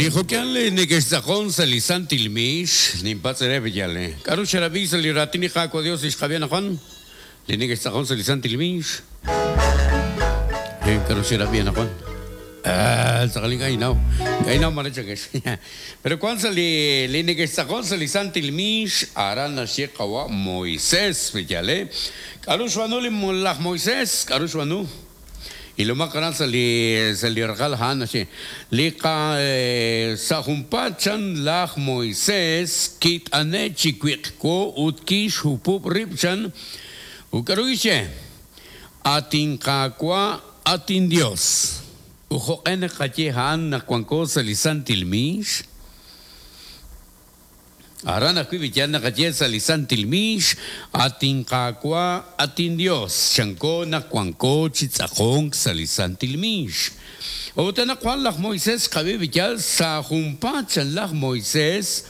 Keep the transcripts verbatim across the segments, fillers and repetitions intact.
Li jo'kan li neke'xtz'aqon sa' li santil miix, ninpatz' re b'iyal, eh. K'aru xerab'i sa' li raatin li Qaawa' Dios li xqab'i anaqwan? Li neke'xtz'aqon sa' li santil miix. Eh, k'aru xerab'i anaqwan? Ah, tz'aqal ink'a' inaw. Ink'a' inaw mare chakex. Pero kwan sa' li li neke'xtz'aqon sa' li santil miix, aran naxye qawa' Moisés, b'iyal, eh. K'aru xb'aanu li laj Moisés? K'aru xb'aanu? Y lo más gran sali sali raqal han naxye li qa sa' junpaat chan laj Moisés kit'ane' chi wiq'wo ut kixhupub' rib' chan ut k'aru kixye atin Qaawa' atin Dios ut jo'q'e naqaye a'an naq wanko sa' li santil miix Aran ajwi' b'iyal naqaye sa' li santil miix atin Qaawa' atin Dios chanko naq wanko chi tz'aqonk sa' li santil miix ut anaqwan laj Moisés xqab'i b'iyal sa' junpaat chan laj Moisés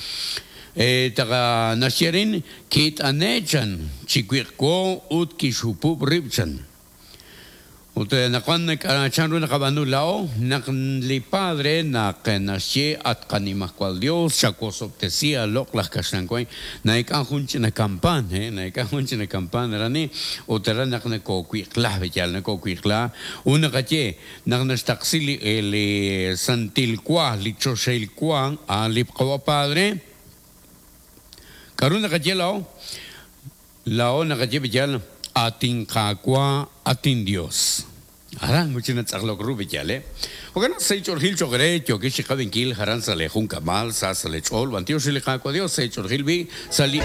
eh, taqa naxye rin kit'ane' chan chi wiq'wo ut kixhupub' rib' chan ut naqwan chan ru naqab'aanu la'o naq li padre naq naxye at qanimajwal Dios chawosob'tesi aloq' laj kaxlan way naik'an jun ch'ina kampan eh naik'an jun ch'ina kampan rani ut aran naq nakowiq'la b'iyal nakowiq'la ut naqaye naq naxtaqsi li li santil wa li choxahil wa a li qawa padre k'aru naqaye la'o la'o naqaye b'iyal atin Qaawa' atin Dios aran mucho natz'aqlok ru b'iyal eh Jo'kan naq seich'orjil choq' re yookix chi qab'inkil jaran sa' le jun k'amal sa' sa' le ch'ool b'antiox li Qaawa' Dios seich'orjil b'i sa' li